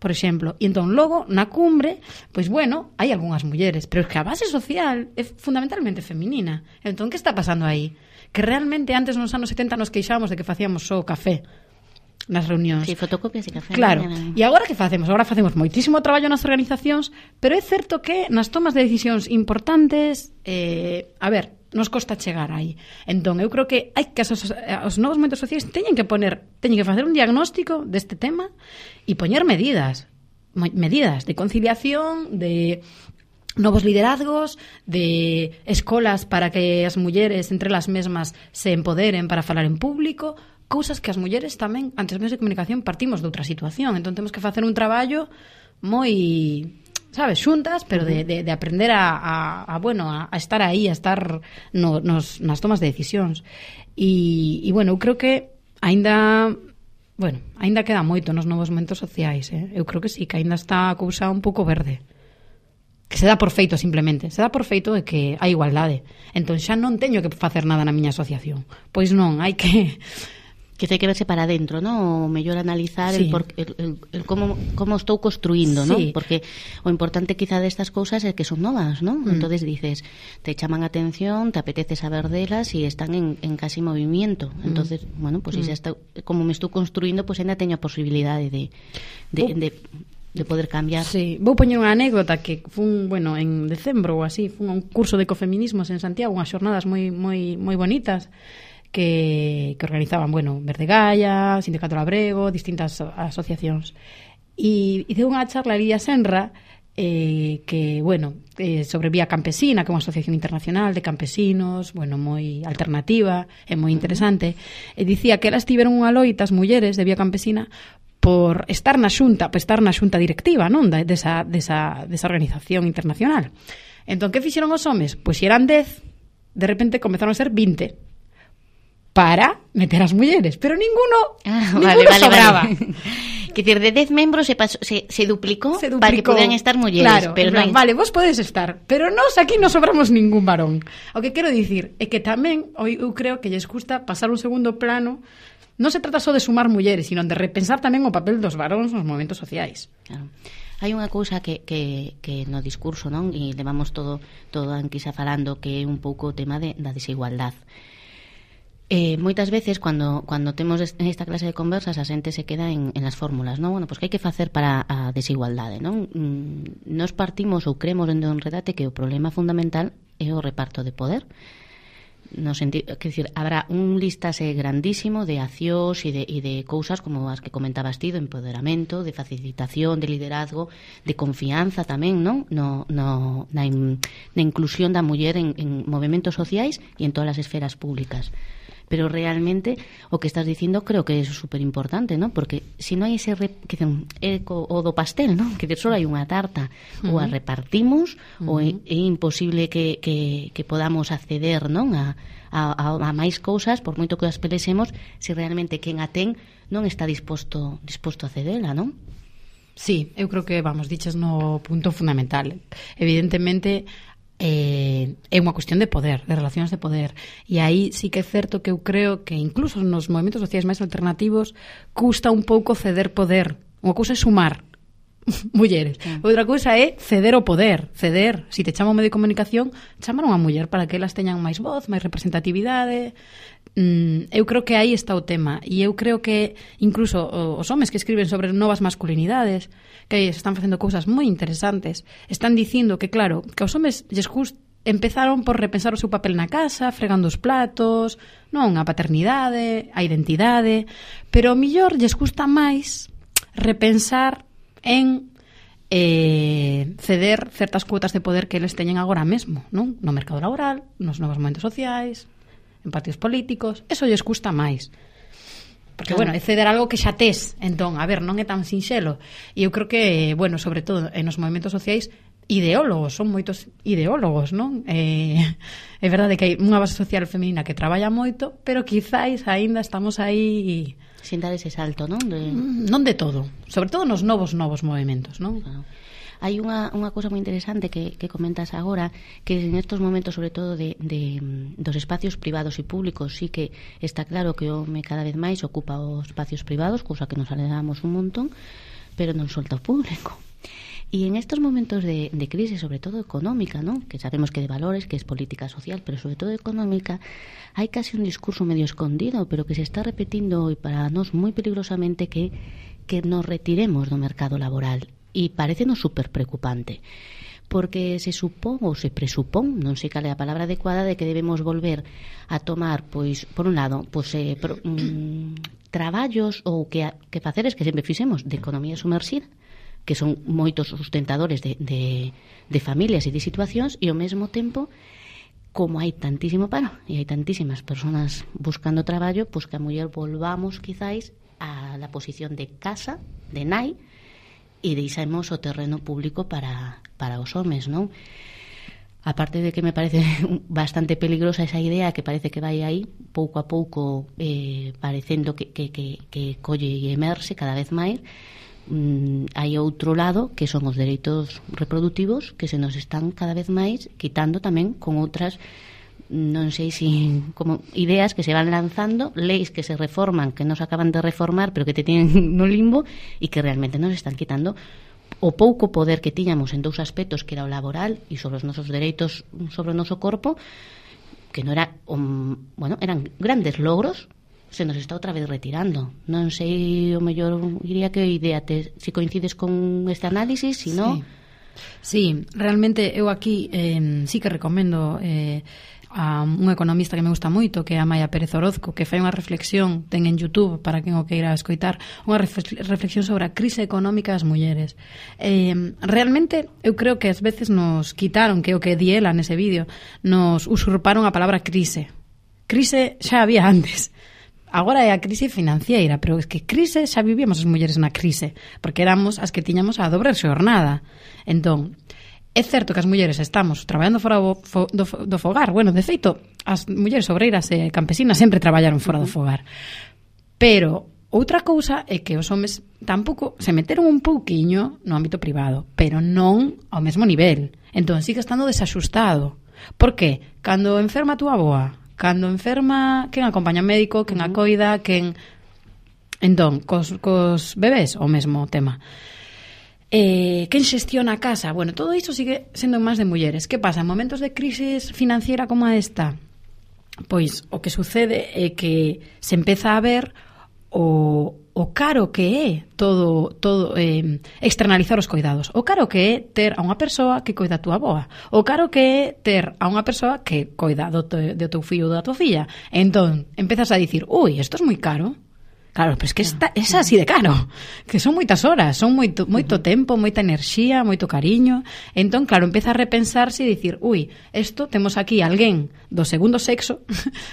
por exemplo, e entón logo na cumbre, pois bueno, hai algunhas mulleres, pero é que a base social é fundamentalmente feminina. Entón, que está pasando aí? Que realmente antes nos anos setenta nos queixábamos de que facíamos só café nas reunións. Sí, fotocopias e café. Claro, e agora que facemos? Agora facemos moitísimo traballo nas organizacións, pero é certo que nas tomas de decisións importantes, eh, a ver, nos costa chegar aí. Entón, eu creo que hai que as, os novos movimentos sociais teñen que poner, teñen que facer un diagnóstico deste tema e poñer medidas, medidas de conciliación, de novos liderazgos, de escolas para que as mulleres entre elas mesmas se empoderen para falar en público, cousas que as mulleres tamén, antes dos medios de comunicación, partimos de outra situación. Entón, temos que facer un traballo moi, sabes, xuntas, pero de, de, de aprender a, a, a bueno, a, a estar aí, a estar no, nos, nas tomas de decisións. E, e bueno, eu creo que aínda, bueno, aínda queda moito nos novos momentos sociais, eh? Eu creo que sí, que aínda está a cousa un pouco verde. Que se dá por feito simplemente, se dá por feito de que hai igualdade. Entón xa non teño que facer nada na miña asociación. Pois non, hai que que hai que verse para dentro, ¿no? O mellor analizar sí. el, por, el, el, el como, como estou construindo, sí. ¿no? Porque o importante quizá destas cousas é que son novas, ¿no? Mm. Entonces dices, te chaman atención, te apetece saber delas e están en, en casi movimiento. Mm. Entonces, bueno, pues mm. si xa está, como me estou construindo, pues ainda teño a posibilidade de, de, uh. de, de poder cambiar. Sí, vou poñer unha anécdota que fun, bueno, en decembro ou así, fun a un curso de ecofeminismos en Santiago, unhas xornadas moi moi moi bonitas, que, que organizaban, bueno, Verde Gaia, Sindicato Labrego, distintas asociacións. E, e deu unha charla a Lidia Senra, eh, que, bueno, eh, sobre Vía Campesina, que é unha asociación internacional de campesinos, bueno, moi alternativa, e moi interesante, e dicía que elas tiveron unha loita, as mulleres de Vía Campesina, por estar na xunta, por estar na xunta directiva, non, desa, desa, desa organización internacional. Entón, que fixeron os homes? Pois se eran dez, de repente comezaron a ser vinte, para meter as mulleres, pero ninguno, ah, ninguno vale, vale, sobraba. Vale. Que decir, de dez membros se, pasó, se, se, duplicó se duplicó para que podan estar mulleres, claro, pero plan, non hai... vale, vos podes estar, pero nós aquí non sobramos ningún varón. O que quero dicir é que tamén eu creo que lles gusta pasar un segundo plano non se trata só de sumar mulleres, sino de repensar tamén o papel dos varóns nos movementos sociais. Claro. Hai unha cousa que, que, que no discurso, non? E levamos todo, todo anquisa falando, que é un pouco o tema de, da desigualdad. Eh, moitas veces, cando, cando temos esta clase de conversas, a xente se queda en, en las fórmulas, non? Bueno, pois pues, que hai que facer para a desigualdade, non? Mm, nos partimos ou cremos en un redate que o problema fundamental é o reparto de poder. No sentido, que decir, habrá un listase grandísimo de accións e de, e de cousas como as que comentabas ti, do empoderamento, de facilitación, de liderazgo, de confianza tamén, non? No, no, na, in, na inclusión da muller en, en movementos sociais e en todas as esferas públicas. Pero realmente o que estás dicindo creo que é super importante, ¿no? Porque se si non hai ese re, que dicen, eco, o do pastel, ¿no? Que só hai unha tarta, uh-huh. ou a repartimos, uh-huh. ou é, é imposible que, que, que podamos acceder, non? A, a, a máis cousas, por moito que as pelesemos, se realmente quen a ten non está disposto, disposto a cedela, non? Sí, eu creo que, vamos, diches no punto fundamental. Evidentemente, Eh, é unha cuestión de poder, de relacións de poder, e aí sí que é certo que eu creo que incluso nos movementos sociais máis alternativos custa un pouco ceder poder. Unha cousa é sumar mulleres, sí. Outra cousa é ceder o poder, ceder, se si te chama un medio de comunicación, chamar unha muller para que elas teñan máis voz, máis representatividade. Mm, eu creo que aí está o tema, e eu creo que incluso os homes que escriben sobre novas masculinidades, que están facendo cousas moi interesantes, están dicindo que claro, que aos homes lles gust, empezaron por repensar o seu papel na casa, fregando os platos, non, a paternidade, a identidade, pero ao millor lles gusta máis repensar en eh, ceder certas cuotas de poder que eles teñen agora mesmo, non? No mercado laboral, nos novos momentos sociais, en partidos políticos, eso lles custa máis. Porque, claro, bueno, é ceder algo que xa tes. Entón, a ver, non é tan sinxelo. E eu creo que, bueno, sobre todo en os movementos sociais, ideólogos, son moitos ideólogos, non? Eh, é verdade que hai unha base social feminina que traballa moito, pero quizáis aínda estamos aí sin dar ese salto, non? De... Non de todo, sobre todo nos novos novos movementos, non? Claro. Hai unha, unha cousa moi interesante que, que comentas agora, que en estos momentos, sobre todo de, de, dos espacios privados e públicos, sí que está claro que o home cada vez máis ocupa os espacios privados, cousa que nos alegramos un montón, pero non solta o público. E en estos momentos de, de crise, sobre todo económica, ¿no? Que sabemos que de valores, que es política social, pero sobre todo económica, hai casi un discurso medio escondido, pero que se está repetindo hoy para nós moi peligrosamente, que, que nos retiremos do mercado laboral. E parecenos super preocupante, porque se supón ou se presupón, non sei cal é a palabra adecuada, de que debemos volver a tomar, pois, por un lado, pois, eh, pro, mm, traballos ou que, que faceres que sempre fixemos de economía sumerxida, que son moitos sustentadores de, de, de familias e de situacións, e ao mesmo tempo, como hai tantísimo paro e hai tantísimas persoas buscando traballo, pois que a muller volvamos quizáis a la posición de casa, de nai, e deixamos o terreno público para, para os homes, non? Aparte de que me parece bastante peligrosa esa idea que parece que vai aí pouco a pouco eh, parecendo que, que, que, que colle e emerse cada vez máis, mm, hai outro lado que son os dereitos reproductivos que se nos están cada vez máis quitando tamén con outras, non sei si como ideas que se van lanzando, leis que se reforman, que non se acaban de reformar, pero que te tienen no limbo e que realmente nos están quitando o pouco poder que tiñamos en dous aspectos, que era o laboral e sobre os nosos dereitos sobre o noso corpo, que non era um, bueno, eran grandes logros, se nos está outra vez retirando. Non sei, o mellor diría que idea te, si coincides con este análisis, si non... Sí. Sí, realmente eu aquí eh, sí que recomendo eh, a un economista que me gusta moito, que é Amaia Pérez Orozco, que fai unha reflexión, ten en YouTube para quen o queira escoitar, unha reflexión sobre a crise económica das mulleres. Eh, realmente eu creo que ás veces nos quitaron, que o que di ela nese vídeo, nos usurparon a palabra crise. Crise xa había antes. Agora é a crise financiera, pero es que crise xa vivíamos as mulleres na crise, porque éramos as que tiñamos a dobre xornada. Entón, é certo que as mulleres estamos traballando fora do, do, do fogar. Bueno, de feito, as mulleres obreiras e campesinas sempre traballaron fora do fogar. Pero outra cousa é que os homes tampouco se meteron un pouquiño no ámbito privado, pero non ao mesmo nivel. Entón, sigue estando desaxustado. Por que? Cando enferma a túa avoa, cando enferma quen acompaña médico, quen a coida, quen... Entón, cos, cos bebés, o mesmo tema. Eh, quen xestiona a casa? Bueno, todo iso sigue sendo máis de mulleres. Que pasa? En momentos de crisis financiera como esta, pois o que sucede é que se empeza a ver o, o caro que é todo, todo eh, externalizar os cuidados, o caro que é ter a unha persoa que coida a túa avoa, o caro que é ter a unha persoa que coida do, te, do teu fillo ou da tua filla. Entón, empezas a dicir, ui, isto é moi caro. Claro, pero es que está, é así de caro, que son moitas horas, son moito, moito uh-huh. tempo, moita enerxía, moito cariño. Entón, claro, empeza a repensarse e dicir, ui, isto temos aquí alguén do segundo sexo,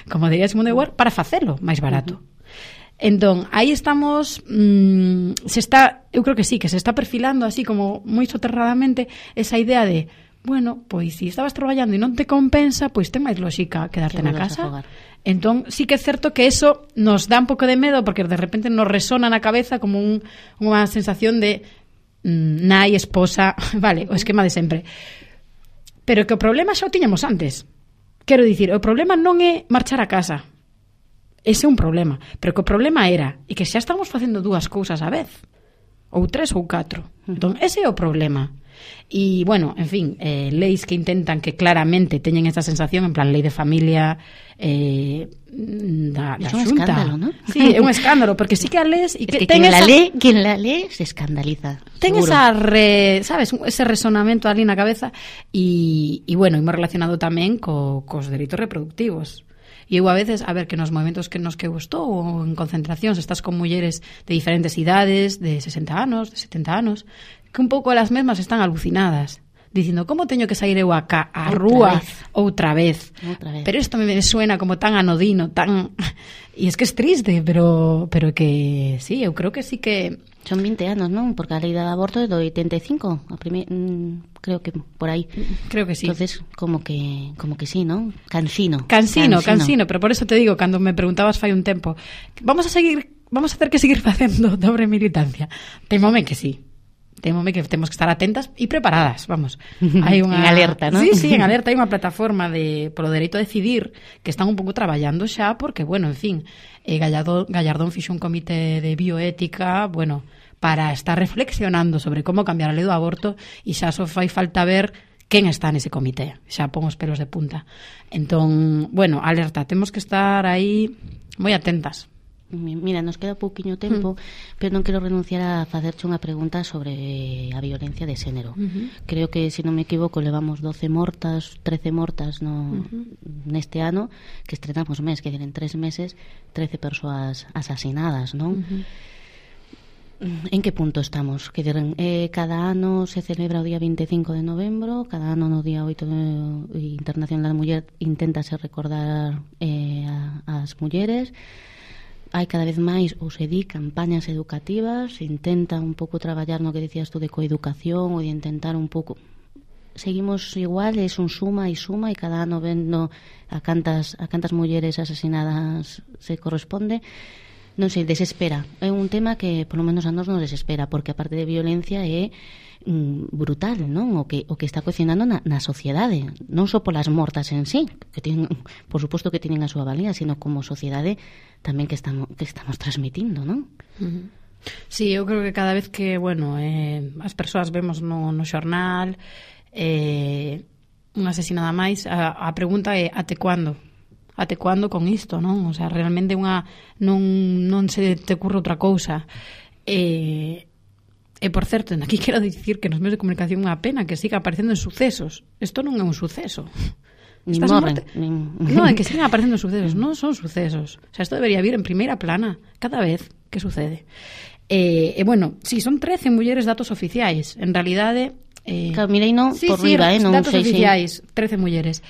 como diría Simone de Beauvoir, para facelo máis barato. Uh-huh. Entón, aí estamos, mmm, se está, eu creo que sí, que se está perfilando así como moi soterradamente esa idea de, bueno, pois se si estabas traballando e non te compensa, pois ten máis lógica quedarte na casa. Entón, sí que é certo que eso nos dá un pouco de medo porque de repente nos resona na cabeza como un, unha sensación de mmm, nai, esposa, vale, o esquema de sempre. Pero que o problema xa o tiñamos antes. Quero dicir, o problema non é marchar a casa. Ese é un problema. Pero que o problema era e que xa estamos facendo dúas cousas á vez. Ou tres ou catro. Entón, ese é o problema. E, bueno, en fin, eh, leis que intentan que claramente teñen esa sensación, en plan, lei de familia eh, da, da é un Xunta. Escándalo, ¿no? Sí, é un escándalo, porque sí que a lees e es que, que ten quien, esa, la lee, quien la lee se escandaliza. Ten seguro. esa, re, sabes, ese resonamento ali na cabeza e, e bueno, hemos relacionado tamén co, cos dereitos reproductivos. E eu a veces, a ver, que nos momentos que nos que gustou ou en concentracións estás con mulleres de diferentes idades, de sesenta anos, de setenta anos, que un pouco elas mesmas están alucinadas, dicindo, como teño que sair eu acá a rúa outra vez? outra vez? Pero isto me suena como tan anodino, tan... E es que es triste, pero pero que sí, eu creo que sí que... Son vinte anos, non? Porque a lei do aborto é do oitenta e cinco, a primer, mm, creo que por aí. Creo que sí. Entonces, como que como que sí, ¿no? Cansino. Cansino, cansino, cansino, pero por eso te digo, cando me preguntabas fai un tempo, vamos a seguir, vamos a ter que seguir facendo dobre militancia. Temome que sí. Temome que temos que estar atentas e preparadas, vamos. Hai unha... en alerta, ¿no? Sí, sí, en alerta. Hai unha plataforma de polo dereito a decidir que están un pouco traballando xa porque, bueno, en fin, eh, Gallardón, Gallardón fixo un comité de bioética, bueno, para estar reflexionando sobre como cambiar a lei do aborto e xa só fai falta ver quen está nese comité. Xa pon os pelos de punta. Entón, bueno, alerta, temos que estar aí moi atentas. Mira, nos queda pouquiño tempo, mm. pero non quero renunciar a facerche unha pregunta sobre a violencia de xénero. Uh-huh. Creo que, se non me equivoco, levamos doce mortas, trece mortas no, uh-huh. neste ano, que estrenamos mes, que en tres meses, trece persoas asasinadas, non? Uh-huh. En que punto estamos? Que eh, cada ano se celebra o día vinte e cinco de novembro, cada ano no día oito de Internacional da Muller inténtase recordar eh, a, as mulleres. Hai cada vez máis, ou se di, campañas educativas, se intenta un pouco traballar no que decías tú de coeducación ou de intentar un pouco... Seguimos igual, é un suma e suma e cada ano vendo a cantas, a cantas mulleres asasinadas se corresponde. Non sei, desespera. É un tema que polo menos a nos nos desespera, porque a parte de violencia é mm, brutal, non? O que o que está cocinando na, na sociedade, non só polas mortas en sí, que tienen, por suposto que tienen a súa valía, sino como sociedade tamén que estamos que estamos transmitindo, non? Uh-huh. Sí, eu creo que cada vez que, bueno, eh, as persoas vemos no, no xornal eh, unha asesinada máis, a, a pregunta é até cuándo? Até cuándo con isto, non? O sea, realmente unha non, non se te ocurre outra cousa. E, e por certo, aquí quero dicir que nos medios de comunicación é unha pena que siga aparecendo en sucesos. Isto non é un suceso. Ni morren. Ni... Non, é que sigan aparecendo sucesos, non son sucesos. O sea, isto debería vir en primeira plana cada vez que sucede. E, e bueno, si, sí, son trece mulleres datos oficiais. En realidade... Eh, claro, mirei non sí, por sí, riba, eh, non datos sei, oficiais, trece mulleres.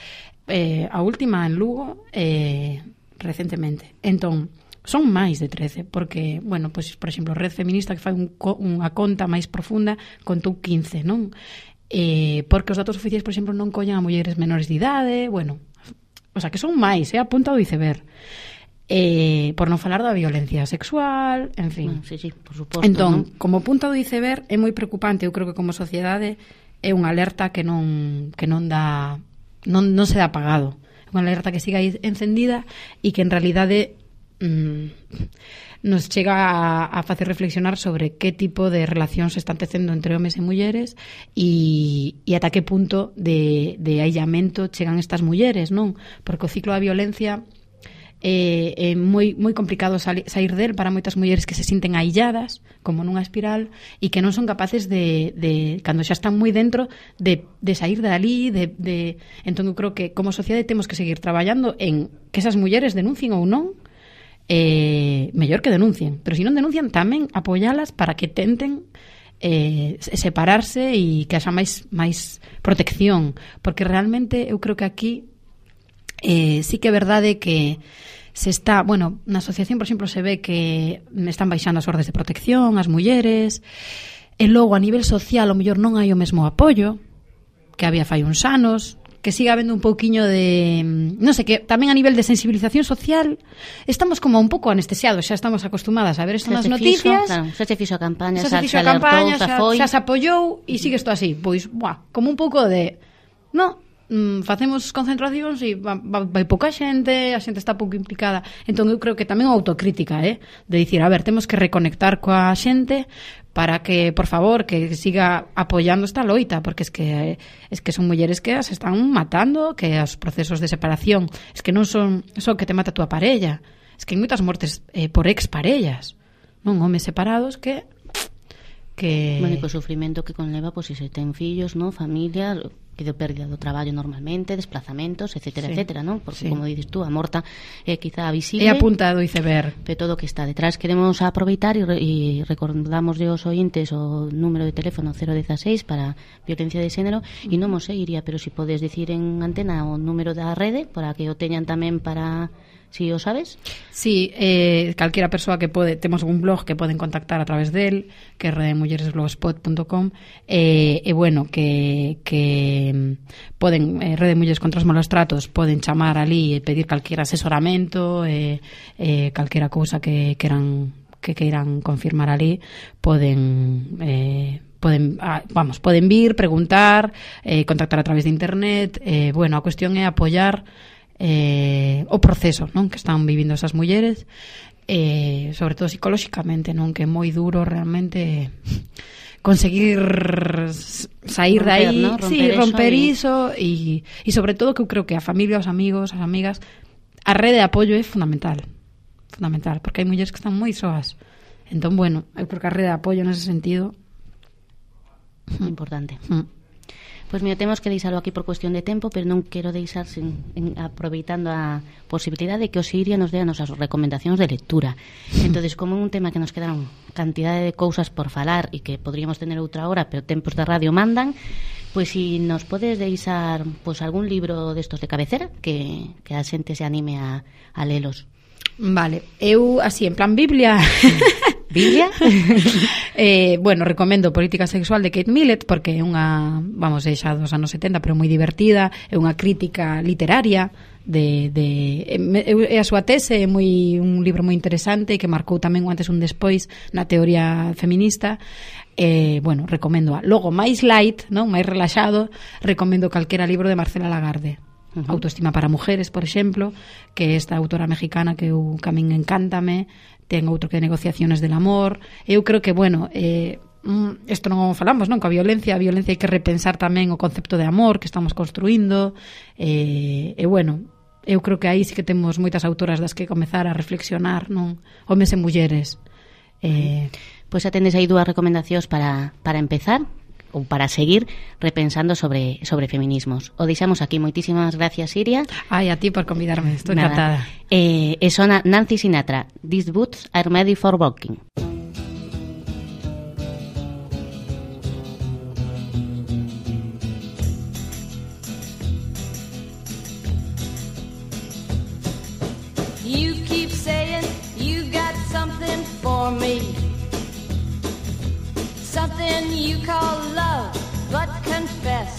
Eh, a última en Lugo eh, recentemente. Entón, son máis de trece, porque, bueno, pois, por exemplo, Red Feminista, que fai un, unha conta máis profunda, contou quince, non? Eh, porque os datos oficiais, por exemplo, non collen a mulleres menores de idade, bueno, o sea, que son máis, é eh, a punta do iceberg. Eh, por non falar da violencia sexual, en fin. Bueno, sí, sí, por suposto. Entón, ¿no? como punta do iceberg é moi preocupante, eu creo que como sociedade é unha alerta que non que non dá non, non se dá apagado. É unha alerta que siga aí encendida e que en realidade mmm, nos chega a, a facer reflexionar sobre que tipo de relación se están tecendo entre homes e mulleres e, e ata que punto de, de aillamento chegan estas mulleres, non? Porque o ciclo da violencia é, é moi, moi complicado salir, sair del para moitas mulleres que se sinten ailladas, como nunha espiral, e que non son capaces de, de cando xa están moi dentro, de, de sair dali, de, de... Entón, eu creo que como sociedade temos que seguir traballando en que esas mulleres denuncien ou non, eh, mellor que denuncien, pero se non denuncian tamén apoialas para que tenten eh, separarse e que haxa máis, máis protección, porque realmente eu creo que aquí eh, sí que é verdade que se está, bueno, na asociación, por exemplo, se ve que están baixando as ordes de protección as mulleres, e logo a nivel social o mellor non hai o mesmo apoio que había fai uns anos, que siga habendo un pouquiño de, non sei, que tamén a nivel de sensibilización social estamos como un pouco anestesiados, xa estamos acostumadas a ver isto nas noticias. Claro, xa se fixo a campaña, xa se fixo a campaña, xa, xa se apoiou e sigue isto así, pois, buah, como un pouco de, no, mm, facemos concentracións e vai, vai pouca xente, a xente está pouco implicada. Entón eu creo que tamén a autocrítica, eh, de dicir, a ver, temos que reconectar coa xente para que, por favor, que siga apoiando esta loita, porque es que es que son mulleres que as están matando, que os procesos de separación, es que non son só que te mata a tua parella, es que hai moitas mortes eh, por exparellas, non, homes separados que que... O único sufrimento que conleva, pois, pues, se ten fillos, non, familia, que de pérdida do traballo normalmente, desplazamentos, etcétera, sí, etcétera, non? Porque, sí, como dices tú, a morta é eh, quizá visible. É a punta do iceberg. De todo o que está detrás. Queremos aproveitar e, re, e recordamos aos ointes o número de teléfono cero dieciséis para violencia de xénero, e non mo seguiría, pero si podes dicir en antena o número da rede para que o teñan tamén para... Si o sabes? Sí, eh, calquera persoa que pode, temos un blog que poden contactar a través del, que é redemulleresblogspot punto com, e eh, eh, bueno, que, que poden, eh, Rede Mulleres contra os malos tratos, poden chamar ali e pedir calquera asesoramento, eh, eh, calquera cousa que queran que queiran confirmar ali, poden eh, poden, ah, vamos, poden vir, preguntar, eh, contactar a través de internet, eh, bueno, a cuestión é apoiar eh, o proceso, non, que están vivindo esas mulleres, eh, sobre todo psicolóxicamente, non, que é moi duro realmente conseguir sair de aí, ¿no? romper, sí, romper iso e e sobre todo que eu creo que a familia, os amigos, as amigas, a rede de apoio é fundamental, fundamental, porque hai mulleres que están moi soas. Entón, bueno, eu creo que a rede de apoio nese sentido importante. Mm. Pois, mira, temos que deixalo aquí por cuestión de tempo, pero non quero deixar sin, en, aproveitando a posibilidade de que o Siria nos dé as nosas recomendacións de lectura. Entonces, como é un tema que nos quedaron cantidade de cousas por falar e que podríamos tener outra hora, pero tempos de radio mandan, pois si nos podes deixar pois, algún libro destos de cabecera que, que a xente se anime a, a lelos. Vale, eu así en plan Biblia Biblia? eh, bueno, recomendo Política Sexual de Kate Millett, porque é unha, vamos, é xa dos anos setenta, pero moi divertida, é unha crítica literaria de, de é a súa tese, é moi un libro moi interesante que marcou tamén un antes un despois na teoría feminista. Eh, bueno, recomendo a. Logo, máis light, non, máis relaxado, recomendo calquera libro de Marcela Lagarde. Uh-huh. Autoestima para mujeres, por exemplo, que esta autora mexicana que eu que a min encántame. Ten outro que de negociaciones del amor. Eu creo que, bueno, eh, isto non falamos, non? Coa violencia, a violencia hai que repensar tamén o concepto de amor que estamos construindo. E, e bueno, eu creo que aí sí que temos moitas autoras das que comezar a reflexionar, non? Homes e mulleres. Eh, pois xa tendes aí dúas recomendacións para, para empezar ou para seguir repensando sobre sobre feminismos. O deixamos aquí. Moitísimas gracias, Siria. Ai, a ti por convidarme, estou encantada. Eh, e sona Nancy Sinatra. These boots are made for walking. You keep saying you got something for me, something you call love, but confess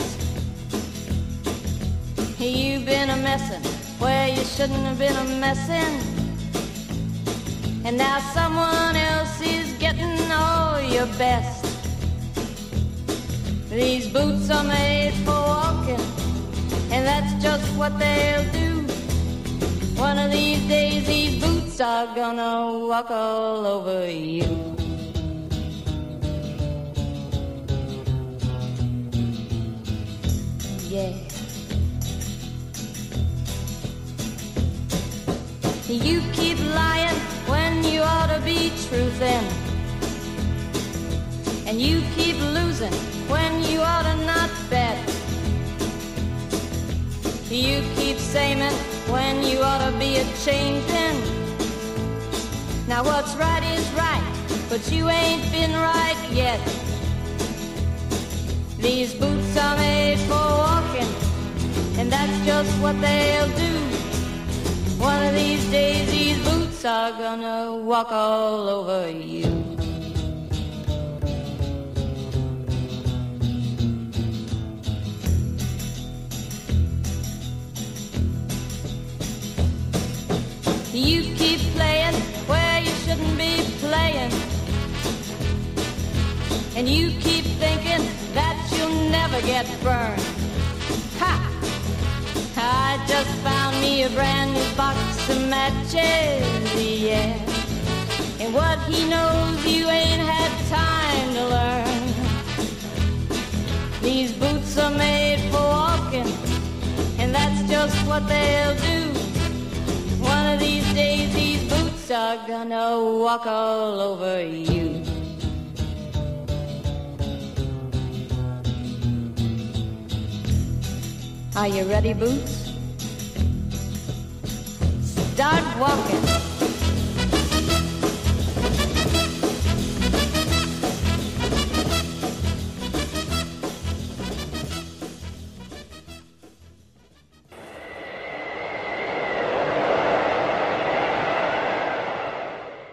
you've been a messin' where you shouldn't have been a messin', and now someone else is getting all your best. These boots are made for walking, and that's just what they'll do. One of these days these boots boots are gonna walk all over you. Yeah. You keep lying when you ought to be truthin', and you keep losing when you ought to not bet. You keep saying when you ought to be a-changin'. Now what's right is right, but you ain't been right yet. These boots are made for walking, and that's just what they'll do. One of these days these boots are gonna walk all over you. You keep playing where you shouldn't be playing, and you keep thinking that you'll never get burned. Ha! I just found me a brand new box of matches, yeah. And what he knows you ain't had time to learn. These boots are made for walking, and that's just what they'll do. One of these days these boots are gonna walk all over you. Are you ready, Boots? Start walking.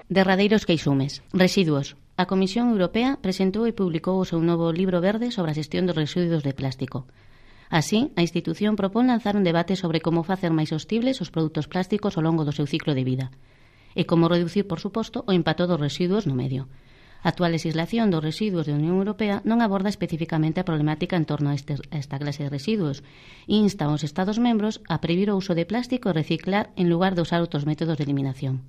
Derradeiros queixumes. Residuos. A Comisión Europea presentou e publicou o seu novo libro verde sobre a xestión dos residuos de plástico. Así, a institución propón lanzar un debate sobre como facer máis sostibles os produtos plásticos ao longo do seu ciclo de vida e como reducir, por suposto, o impacto dos residuos no medio. A actual legislación dos residuos da Unión Europea non aborda especificamente a problemática en torno a, este, a esta clase de residuos e insta aos Estados membros a prohibir o uso de plástico e reciclar en lugar de usar outros métodos de eliminación.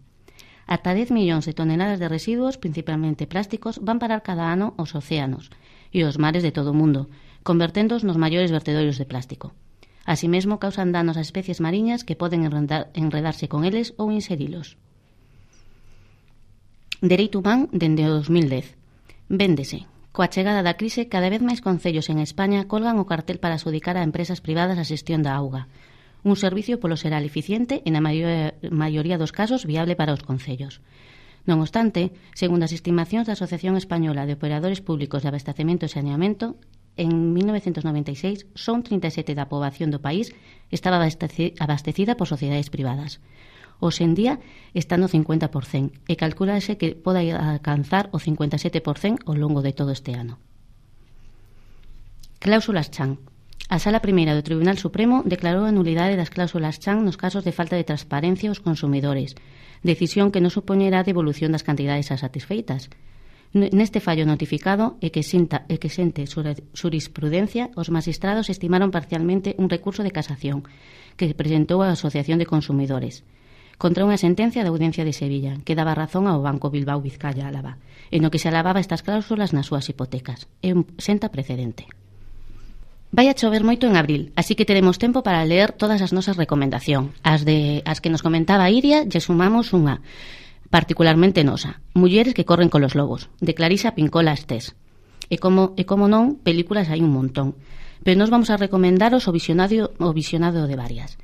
Ata dez millóns de toneladas de residuos, principalmente plásticos, van parar cada ano aos océanos e aos mares de todo o mundo, converténdoos nos maiores vertedorios de plástico. Así mesmo causan danos a especies mariñas que poden enredar, enredarse con eles ou inserilos. Dereito humán dende o dos mil dez. Véndese. Coa chegada da crise, cada vez máis concellos en España colgan o cartel para adxudicar a empresas privadas a xestión da auga. Un servicio polo xeral eficiente e na maioría dos casos viable para os concellos. Non obstante, segundo as estimacións da Asociación Española de Operadores Públicos de Abastecemento e Saneamento, en mil novecientos noventa e seis, só un trinta e sete por cento da poboación do país estaba abastecida por sociedades privadas. Hoxe en día está no cincuenta por cento e calculase que poda alcanzar o cincuenta e sete por cento ao longo de todo este ano. Cláusulas Chan. A Sala Primeira do Tribunal Supremo declarou a nulidade das cláusulas Chan nos casos de falta de transparencia aos consumidores, decisión que non supoñerá a devolución das cantidades satisfeitas. Neste fallo notificado e que, sinta, e que sente xurisprudencia, os magistrados estimaron parcialmente un recurso de casación que presentou a Asociación de Consumidores contra unha sentencia da Audiencia de Sevilla que daba razón ao Banco Bilbao Vizcaya Álava, en no que se alababa estas cláusulas nas súas hipotecas. É un senta precedente. Vai a chover moito en abril, así que teremos tempo para ler todas as nosas recomendacións. As, de, as que nos comentaba Iria, lle sumamos unha particularmente nosa, Mulleres que corren colos lobos, de Clarisa Pincola Estés. E como, e como non, películas hai un montón, pero nos vamos a recomendaros o visionado, o visionado de varias.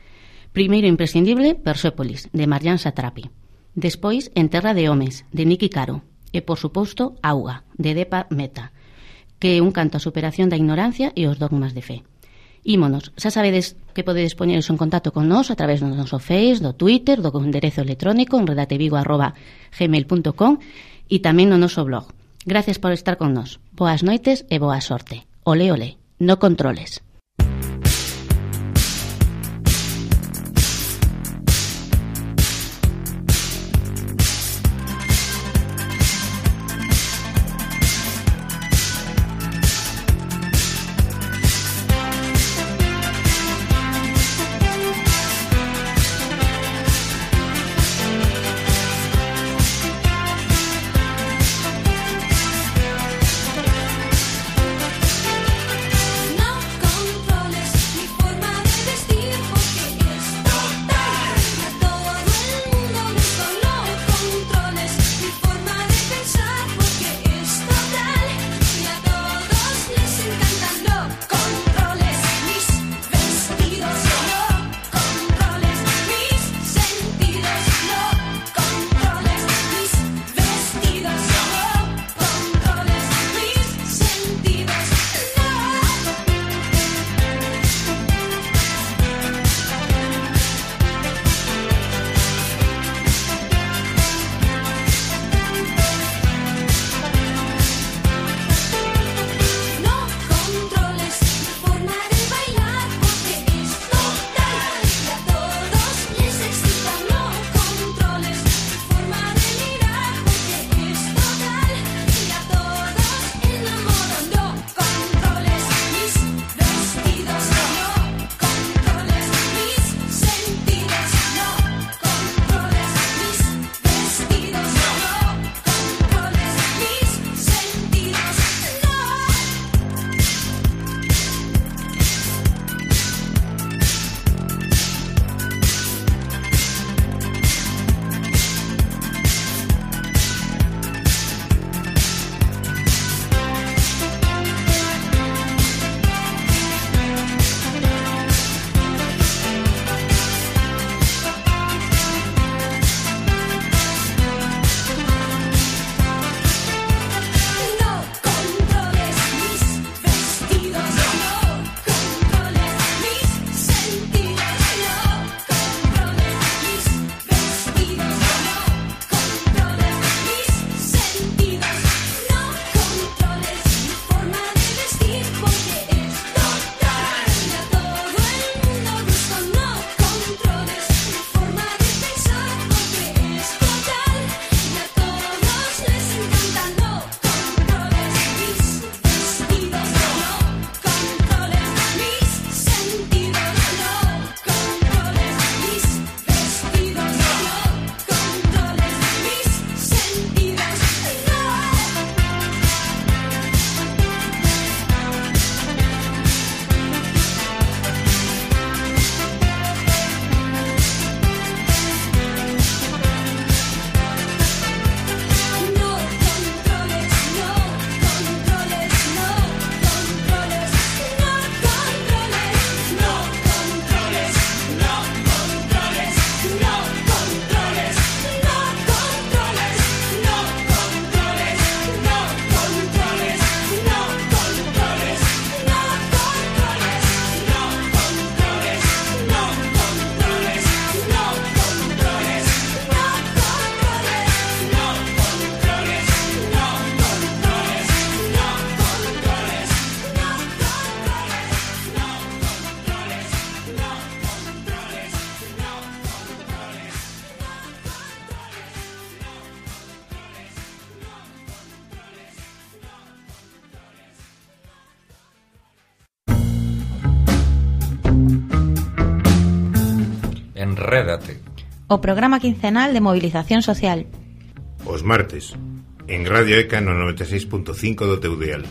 Primeiro imprescindible, Persépolis, de Marjane Satrapi. Despois, En terra de homes, de Niki Caro. E, por suposto, Auga, de Deepa Mehta, que é un canto á superación da ignorancia e os dogmas de fe. Ímonos, xa sabedes que podedes poñeros en contacto con nós a través do noso Face, do Twitter, do enderezo electrónico en redatevigo arroba gmail punto com e tamén no noso blog. Gracias por estar con nós. Boas noites e boa sorte. Ole, ole, no controles. Enrédate. O programa quincenal de movilización social. Os martes, en Radio E C A no noventa e seis punto cinco do teu dial.